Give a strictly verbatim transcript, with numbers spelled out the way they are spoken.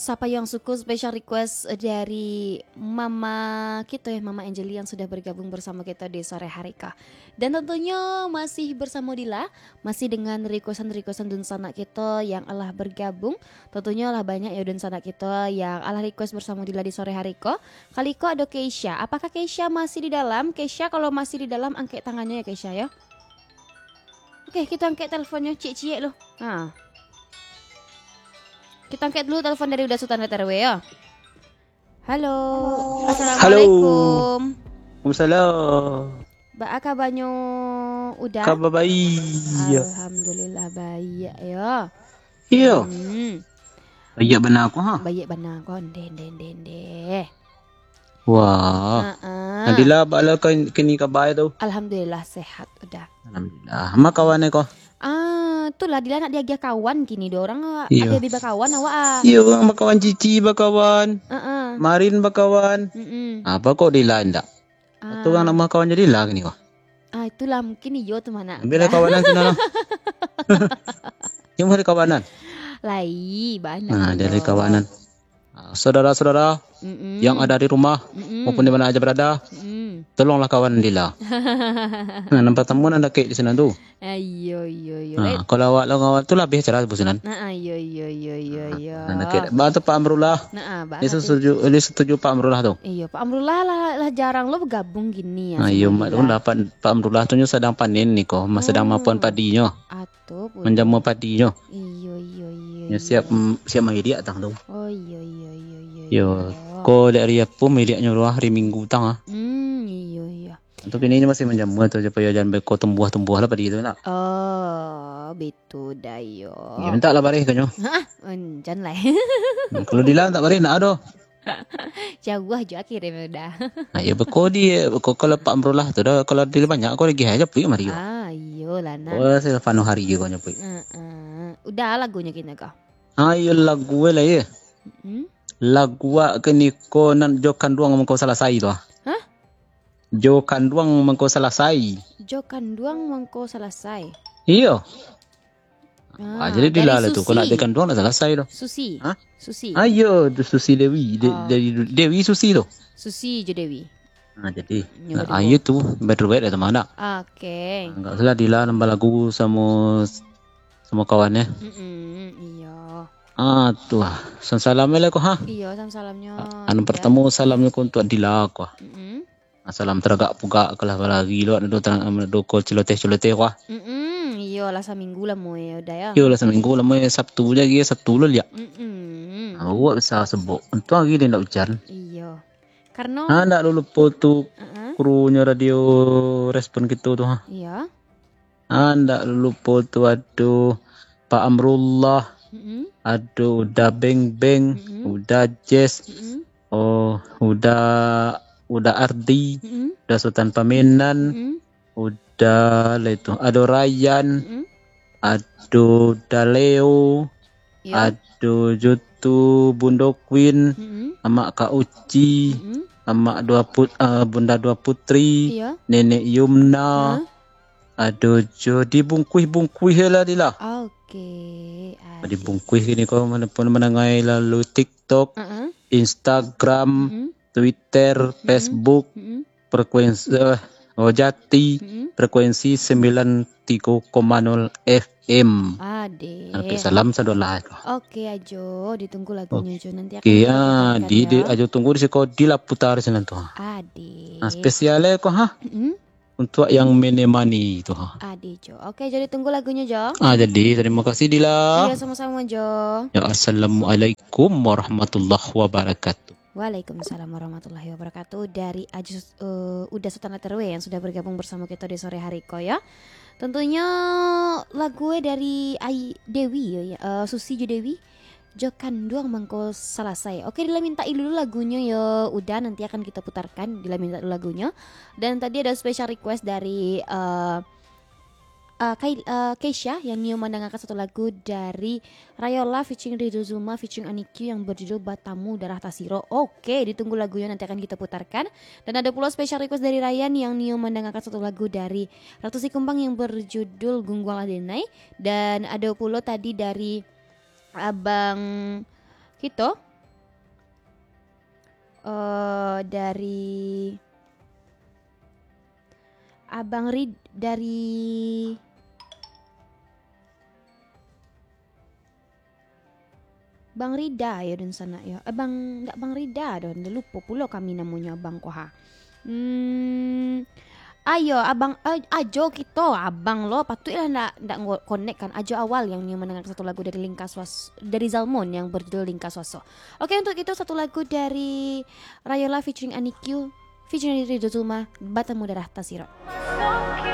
Sapa yang suka special request dari mama kita ya, Mama Angeli yang sudah bergabung bersama kita di sore hari ko. Dan tentunya masih bersama Dila, masih dengan requestan-requestan dunsanak kita yang alah bergabung. Tentunya lah banyak ya dunsanak kita yang alah request bersama Dila di sore hari ko. Kali ko ada Keisha. Apakah Keisha masih di dalam? Keisha, kalau masih di dalam, angkat tangannya ya, Keisha, ya. Oke, kita angkat teleponnya, ciek-ciek lo. Ha. Kita angkat dulu telepon dari Uda Sutan Tarwe, ya. Halo. Halo. Assalamualaikum. Waalaikumsalam. Baa kabanyo, Uda? Kaba baiak. Alhamdulillah, baiak, yo. Iyo. Hmm. Baiak bana ko, ha? Baiak bana ko, ndeh, ndeh, ndeh, ndeh. Wah. Ha-ah. Nadila, baa lah kini kaba tu? Alhamdulillah, sehat, Uda. Alhamdulillah. Ma kawan ko? Ah, tu lah, Dila nak diagiah kawan kini, dua orang, ah, Iyo. Ado bi bakawan awak, ah. Iyo, urang bakawan, Cici bakawan. Heeh. Marin bakawan. Mm-mm. Apa kok Dila ndak? Ah. Tu urang nak bakawan jadi lah kini ko. Ah, itulah mungkin iyo tu, Manak. Ambil lah kawanan sinan lah. Yang ada kawanan. Lai, banyak. Nah, dari kawanan. Ah, saudara-saudara Mm-mm. yang ada di rumah Mm-mm. maupun di mana aja berada, Mm-mm. tolonglah kawan Dila. Nah, nampak tamu nan dakek di sinan tu. Ah, iyo, iyo, iyo. Nah, kalau awak lah kawan tu lah, biasa lah businan. Nah, ah, iyo, iyo, iyo, iyo, iyo. Nah, dakek. Ba tu Pak Amrullah. Nah, ah, ba Dia tu. setuju, dia setuju Pak Amrullah tu. Iyo, Pak Amrullah lah, lah jarang lo bergabung gini ya Nah, sama iyo, Dila. Mak tu lah Pak, Pak Amrullah tu nyo sadang panen ni ko, mas-, sadang Oh. mapuan padinyo. At-, Betul, betul. Manjamua padinyo. Iyo, iyo, iyo, Nyo iyo. siap, mm, siap mailiak tang tu. Oh, iyo, iyo, iyo, iyo, Yo, iyo. ko dek ari apo mailiaknyo tu, ah, hari Minggu tang, ah. Hmm, iyo, iyo. Tu kini nyo masih manjamua tu, supayo jan beko tumbuah-tumbuah lah padi tu, nak. Oh, betul dah, yo. Yo, mintak lah bareh ka nyo. Hah? Encan lah. Hmm, kalau Dila mintak bareh, nak ado. Jauah jo akhirnyo dah. Ah, iyo, beko di, beko kalau Pak Amrullah tu dah, kalau di banyak ko lagi aja pui mari ko. Ah, iyolah, nak. Oh, saya panuh hari ko nyo pui. Heeh. Udah lagunyo kini ko. Ah, iyo lagu lah, yo. Mm-mm. Lagu wak kini ko nan jo kanduang mangko salasai tu, ah. Hah? Jo kanduang mangko salasai. Jo kanduang mangko salasai. Iyo. Ah, Ah, jadi dari Dila lah tu, Susi. Kalau nak di kanduang nak salasai tu. Susi. Hah? Susi. Ah, iyo, tu Susi Dewi. De-, Ah. dari Dewi Susi tu. Susi jo Dewi. Ah, jadi. Nyo Ah, baduo. iyo tu, berdua dah teman nak. Oke. Ah, enggak salah Dila nambah lagu sama, sama kawannya. Mm-mm, iyo. Ah, tu ah. Salam-salam lah ko, ha? Iyo, salam-salamnyo. Ah, anu Dila. Pertama salamnyo ko untuk Dila ko. Mm-mm. Ah, salam taragak pugak, kalah balari lo, ado tarang, ado ko celoteh-celoteh ko. Mm-mm, iyo lah saminggu lamo yo, Uda yo. Iyo lah saminggu lamo yo, Sabtu je lagi, Sabtu lo liak. Mm-mm. Ah, awak bisa sebok. Untung hari dia ndak ujan. Iyo. Karno Ha, ndak lupo tu Heeh. Krunyo radio Respon kito tu, ha. Iyo. Ah, ndak lupo tu ado Pak Amrullah, Mm-mm. ado Uda Beng Beng, Mm-mm. Uda Jess, Mm-mm. oh, Uda, Uda Ardi, Mm-mm. Uda Sutan Pamenan, Mm-mm. Uda lah itu, ado Ryan, Mm-mm. ado Uda Leo, Iyo. ado jo tu Bundo Queen, Mm-mm. Amak Kak Uci, Mm-mm. Amak Dua Put-, ah, Bunda Dua Putri, Iyo. Nenek Yumna, Hah? ado jo dibungkuih-bungkuih lah, Dila. Oke, asik. Dibungkuih kini ko, mana pun manangai lalu TikTok, Heeh. Instagram, Mm-mm. Twitter, Mm-mm. Facebook, Mm-mm. Frekuensi, eh, oh, Jati, Mm-mm. frekuensi sembilan tiga koma nol F M. Ade. Oke, salam sadolah. Oke, Ajo, ditunggu lagunyo, Oke. Jo. Nanti akan Oke, kita ya, putarkan, di, di, ya. Ajo tunggu di siko, Dila putar sinan tu. Ade. Nah, spesial ko, ha? Mm-mm. Untuk yang menemani tu, ha. Ade, Jo. Oke, Jo, ditunggu lagunyo, Jo. Ah, jadi, terima kasih, Dila. Iya, sama-sama, Jo. Ya, assalamualaikum warahmatullahi wabarakatuh. Waalaikumsalam warahmatullahi wabarakatuh. Dari Ajo, eh, Uda Sutan Terwe yang sudah bergabung bersama kita di sore hari ko, ya. Tentunya lagu dari Ai Dewi, ya, ya. Eh, Susi jo Dewi. Jo kanduang mangko salasai. Oke, Dila minta dulu lagunyo yo, Uda, nanti akan kita putarkan. Dila minta dulu lagunyo. Dan tadi ada special request dari, eh, eh, Kai-, eh, Keisha yang nio mendengarkan satu lagu dari Rayola featuring Ridho Zuma featuring Anik Q yang berjudul Batamu Darah Tasiro. Oke, ditunggu lagunya, nanti akan kita putarkan. Dan ada pula special request dari Ryan yang nio mendengarkan satu lagu dari Ratu Sikumbang yang berjudul Gungguanglah Denai. Dan ada pula tadi dari abang kito, eh, dari Abang Rid, dari Bang Rida yo dunsanak yo. Eh, Bang, ndak Bang Rida doh, lupo pulo kami namonyo Abang ko ha. Hmm, ayo Abang, eh, ajo kito Abang lo, patuiklah ndak, ndak ngo-, connect kan. Ajo awal yang nyo mandangarkan satu lagu dari Lingka Suas-, dari Zalmon yang berjudul Lingka Suaso. Oke, untuk itu satu lagu dari Rayola featuring Anik Q, featuring Ridho Zuma, Batamu Darah Tasiro.